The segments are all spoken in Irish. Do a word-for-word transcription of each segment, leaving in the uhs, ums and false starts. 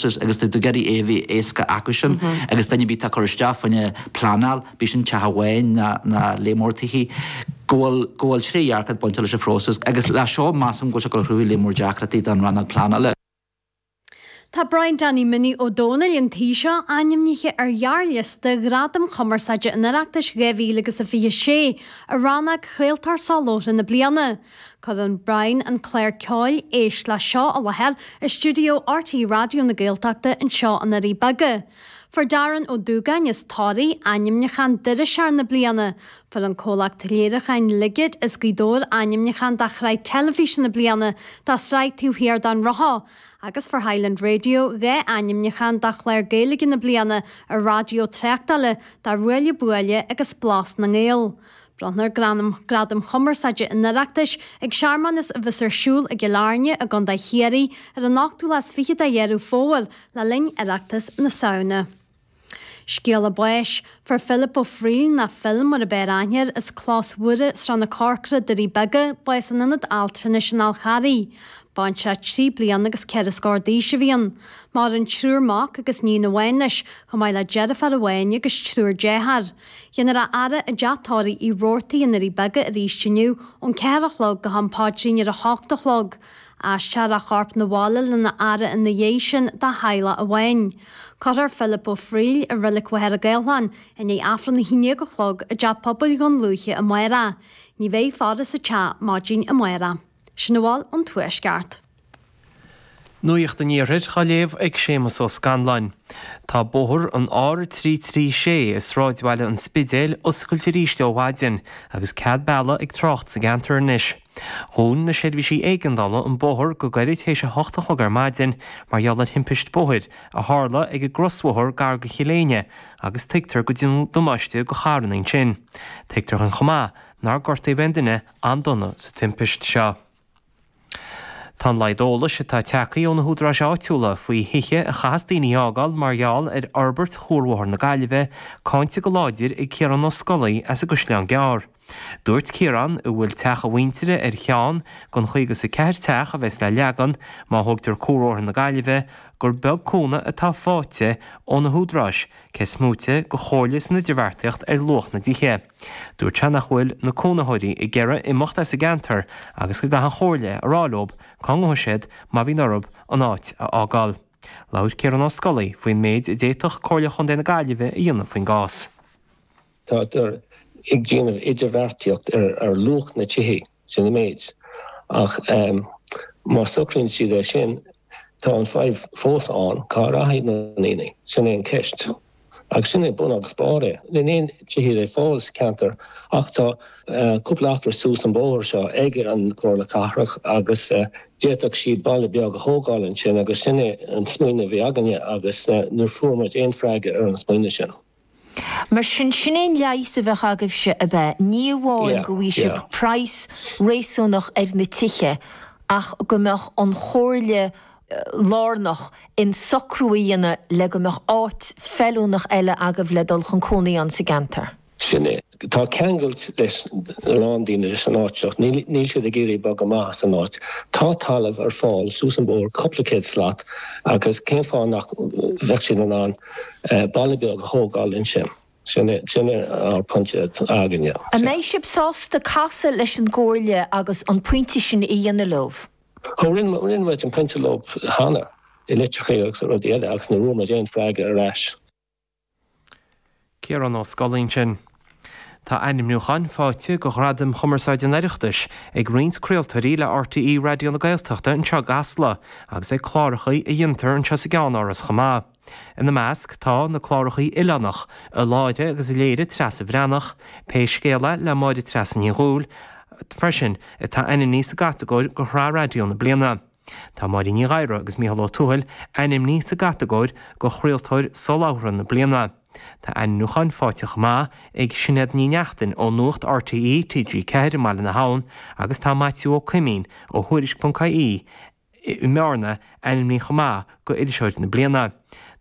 phróiseas agus tá tú ag iarraidh é a bheith éasca acusan agus duine ar bith atá ag cur isteach fá choinne pleanáil, bíodh sin teach amháin ná ná lear mór tithe, go bhfuil go bhfuil trédhearcacht bainte leis an phróiseas agus le seo measaim go bhfuil sé ag cruthú lear mór deacrachtaí don rannóg pleanála. Tá Brian Danny Minnie Ó Dónaill an tí seo ainmnithe ar ghearrliosta Ghradaim Chumarsáide an Oireachtais dhá mhíle agus a fiche sé i rannóg Chraoltóir Soláthar na Bliana. Cuireann Brian an clár ceoil Éist le Seo i láthair i stiúideo RTÉ Raidió na Gaeltachta anseo i nDoirí Beaga. Fuair Darren Ó Dúgáin as Toraigh ainmniúchán d'Iriseoir na Bliana. Fuair an comhlacht léiriúcháin Ligid as Gaoth Dobhair ainmniúchán do Shraith Teilifíse na Bliana dá sraith Taobh Thiar den Rothar. Agus fuair Highland Radio dhá ainmniúchán do Chlár Gaeilge na Bliana ar raidió tráchtála do Ruaille Buaille agus Blas na nGael. Bronnfar Gradaim Chumarsáide an Oireachtais ag searmanas a bheas ar siúl i gCill Airne i gContae Chiarraí ar an ochtú lá is fiche de Dheireadh Fómhair le linn Oireachtas na Samhna. Scéala báis, Fuair Philip Ó Frighil, nó Phil mar ab fhearr aithne air, as Clós Mhuire, Srath na Corcra, Doirí Beaga, bás in Ionad Altranais an Fháil Charraigh. Baintreach trí bliana agus ceithre scór d'aois a bhí ann. Maireann triúr mac agus níon amháin leis, chomh maith le deirfiúr amháin agus triúr dearthár. Déanfar a fhaire i dteach tórraimh Uí Robhartaigh i nDoirí Beaga arís inniu ón ceathair a chlog go ham paidrín ar a hocht a chlog. Aistreofar a chorp 'na bhaile lena fhaire ina dhiaidh sin dá theaghlach amháin. Cuirfear Philip Ó Frighil i Reilig Mhachaire Gathlán i ndiaidh Aifreann a haon déag a chlog i dTeach Pobail Dhún Lúiche amárach. Ní bheidh faire sa teach maidin amárach. Sin a bhfuil ón Tuaisceart. Nuacht an Iarthair á léamh ag Séamus Ó Scanláin. Tá bóthar an R trí trí sé i sráidbhaile an Spidéil oscailte arís ó mhaidin agus cead bealaigh ag trácht sa gceantar anois. Dhún na seirbhísí éigeandála an bóthar go gairid théis a hocht a chlog ar maidin mar gheall ar thimpist bóthair a tharla ag an gcrosbhóthar gar go Chill Éinne agus tuigtear go deineadh damáiste go charranna ansin. Tuigtear chomh maith nár gortaíodh aon duine an-dona sa timpist seo. Tá an laghad eolais atá tagtha ó na húdaráis áitiúla faoi thithe a chaithfeas daoine a fhágáil mar gheall ar fhorbairt Chuarbhóthar na Gaillimhe cáinte go láidir ag Ciarán Ó Scolaí as an gCaisleán Gearr. Dúirt Ciarán, a bhfuil teach a mhuintire ar cheann den chaoga is a ceathair teach a bheas le leagan má thógtar Cuarbhóthar na Gaillimhe, gur beag cúnamh atá faighte ó na húdaráis, cé is móite de chomhairle san idirbheartaíocht ar luach na dtithe. Dúirt sé nach bhfuil na cónaitheoirí ag iarraidh imeacht as an gceantar agus go gcaithfidh an chomhairle a rá leo cá ngabhfaidh siad má bhíonn orthu an áit a fhágáil. Labhair Ciarán Ó Scolaí faoin méid a d'fhéadfadh Comhairle Chontae na Gaillimhe a dhéanamh faoin gcás. Táthar ag déanamh idirbheartaíocht ar ar luach na tithe sin an méid ach má socraíonn siad é sin tá an fadhb fós ann cá rachaidh na daoine sin é an ceist. Agus sin é bun agus barr é. Níl aon tithe le fáil sa ceantar ach tá cúpla acra suas an bóthar seo ag an Comhairle Cathrach agus d'fhéadfadh siad baile beag a thógáil ansin agus sin é an smaoineamh a bhí againne agus níor fuair muid aon freagra ar an smaoineamh sin. Mar sin sin é an leigheas a bheadh agaibhse ab ea? Ní amháin go bhfaighidh sibh praghas réasúnach ar na tithe ach go mbeadh an chomhairle lárnach in socrú a dhéanamh le go mbeadh áit feiliúnach eile agaibh le dul chun cónaí ann sa gceantar. Sin é. Tá ceangailt leis a lán daoine leis an áit seo. Níl siad ag iarraidh bogadh amach as an áit. Tá talamh ar fáil suas an bóthar cúpla céad slat agus cén fáth nach bheadh siad in ann baile beag a thógáil ansin. Sin é sin é ár pointe againne. An mbeidh sibh sásta casadh leis an gcomhairle agus an pointe sin a dhéanamh leo? Ó rinne rinne muid an pointe leo cheana i litreacha agus rudaí eile agus ní raibh muid aon freagra ar ais. Ciarán Ó Scolaí ansin. Tá ainmniúcháin faighte do Ghradaim Chumarsáide an Oireachtais ag roinnt craoltóirí le RTÉ Raidió na Gaeltachta anseo i gCasla agus ag cláracha a dhéantar anseo sa gceannáras chomh maith. Ina measc tá na cláracha Oileánach, a láithre agus a léirigh Treasa Bhreathnach, Pé Scéal É le Máire Treasa Ní Dhubhghaill, freisin, atá ainmnithe sa gcatagóir do Shraith Raidió na Bliana. Tá Máirín Ní Ghadhra agus Mícheál Ó Tuathail ainmnithe sa gcatagóir do Chraoltóir Soláthra na Bliana. Tá ainmniúcháin faighte chomh maith ag Sinéad Ní Neachtain ó Nuacht RTÉ TG Ceathair i mBaile na hAbhann agus tá Maitiú Ó Coimín ó Thuairisc.ie i mBearna ainmnithe chomh maith do Iriseoir na Bliana.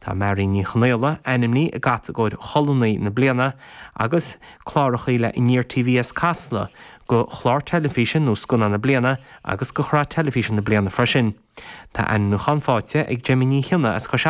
Tá Mary Ní Chonaola ainmnithe i gcatagóir Cholúnaí na Bliana agus cláracha le Aniar TV as Casla do Chlár Teilifíse nó Scannán na Bliana agus do Shraith Teilifíse na Bliana freisin. Tá ainmniúchán faighte ag Jimmy Ní Chionnaith as Cois